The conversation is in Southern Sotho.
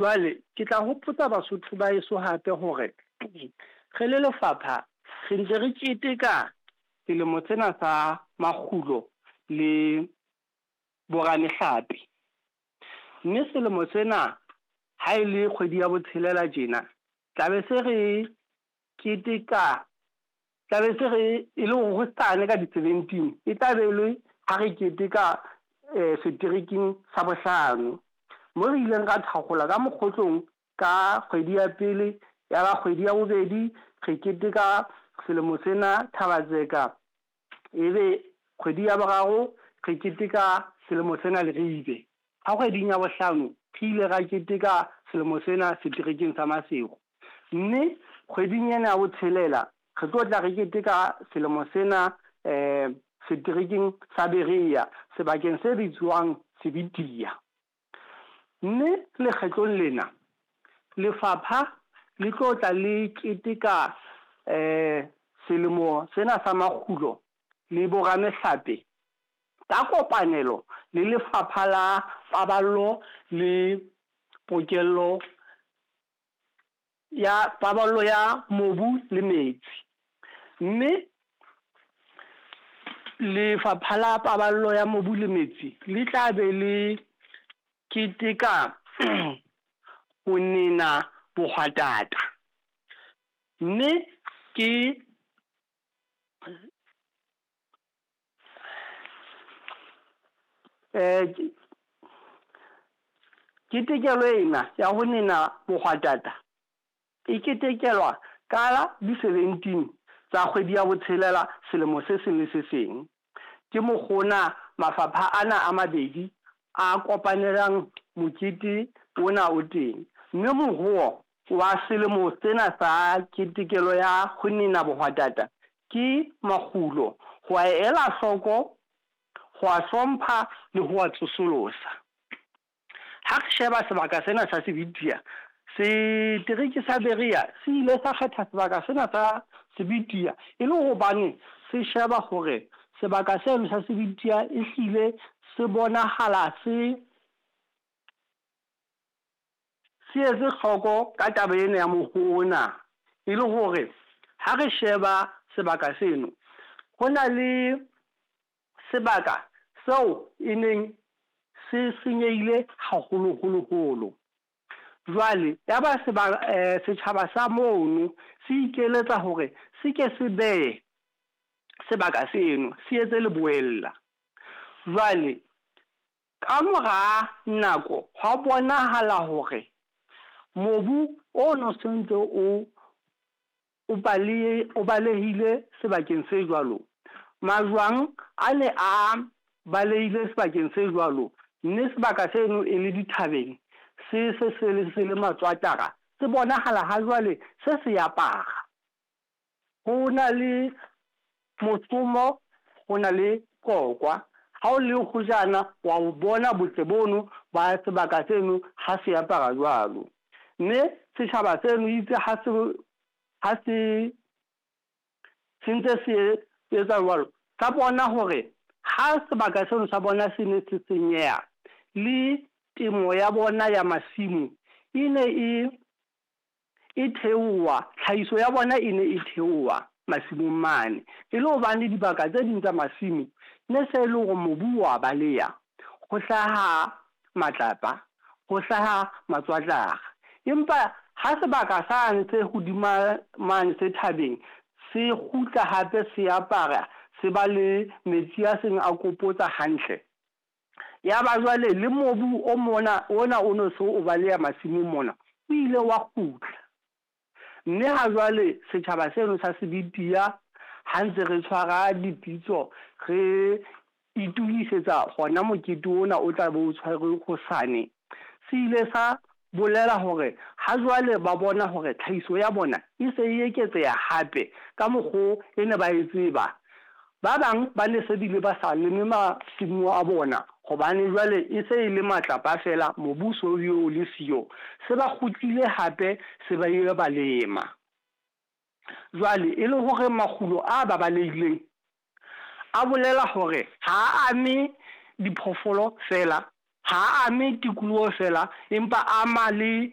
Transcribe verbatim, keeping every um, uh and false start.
Jwale ke tla hopotsa Basotho ba heso hape hore re le lefapha re ntse re keteka selemo sena sa makgulo le boramehlape. Mme selemo sena ha e le kgwedi ya botshelela tjena, tla be se re keteka tla be se re e le hore hosane ka di-seventeen e tla be le ha re keteka seterekeng sa bohlano. Mo re ileng ra thakgola ka mokgotlong ka kgwedi ya pele, ya ba kgwedi ya bobedi re keteka selemo sena Thaba-Tseka. Ebe kgwedi ya boraro re keteka selemo sena Leribe. Ha kgweding ya bohlano re ile ra keteka selemo sena seterekeng sa Maseru. Mme kgweding ena ya botshelela re tlo tla re keteka selemo sena seterekeng sa Berea sebakeng se bitswang Sebidia. Mme lekgetlong lena lefapha le tlo tla le keteka selemo sena sa makgulo le boramehlape ka kopanelo le Lefapha la Paballo le Pokello ya Paballo ya Mobu le Metsi. Mme Lefapha la Paballo ya Mobu le Metsi le tla be le keteka ho nena bohwatata. Mme ke ketekelo ena ya ho nena bohwatata e ketekelwa ka di-seventeen tsa kgwedi ya botshelela selemo se seng le se seng. Ke mokgona mafapha ana a mabedi a kopanelang mokete ona o teng. Mme moruo wa selemo sena sa ketekelo ya ho nena bohwatata ke makgulo, ho a ela hloko, ho a hlompha le ho a tsosolosa. Ha re sheba sebaka sena sa Sebidia, setereke sa Berea se ile sa kgetha sebaka sena sa Sebidia e le hobane se sheba hore sebaka seno sa Sebidia ehlile se bonahala se se etse hloko ka taba ena ya moruo ona. E le hore ha re sheba sebaka seno, ho na le sebaka seo e neng se senyehile haholoholo-holo. Jwale ya ba setjhaba sa mono se ikeletsa hore se ke se behe sebaka seno, se etse leboella. Jwale ka mora nako hwa bonahala hore mobu ono sontso o o balehe, o balehile sebakeng se jwalo. Majwang a ne a balehile sebakeng se jwalo, mme sebaka seno e le dithabeng, se se se le se le matswatara, se bonahala ha jwale se se apara. Ho na le mosomo, ho na le qokwa. Ha o le hojana wa o bona botle bono ba sebaka seno ha se apara jwalo. Mme setjhaba seno itse ha se ha se se ntse se etsa jwalo, sa bona hore ha sebaka seno sa bona se ne se senyeha, le temo ya bona ya masimo e ne e e theoha, tlhahiso ya bona e ne e theoha masimong mane. E le hobane dibaka tse ding tsa masimo ne se le hore mobu wa baleha, ho hlaha matlapa, ho hlaha matswatlara. Empa ha sebaka sane se hodima mane se thabeng se kgutla hape se apara, se ba le metsi a seng a kopotsa hantle. Ya ba jwale le mobu o mona ona o no so o baleha masimong mona, o ile wa kgutla. Mme ha jwale setjhaba seno sa Sebidia ha ntse re tshwara dipitso, re itokisetsa hona mokete ona o tla be o tshwarwe hosane. Se ile sa bolela hore ha jwale ba bona hore tlhahiso ya bona e se e eketseha hape ka mokgo e ne ba e tseba. Ba bang ba ne se bile ba sa leme masimo a bona hobane jwale e se e le matlapa feela, mobu so o le siyo. Se ba kgutlile hape se ba ile ba lema. Jwale e le hore makgulo a babalehileng a bolela hore ha a ame diphoofolo feela, Ha ame tikoloho fela, empa ama le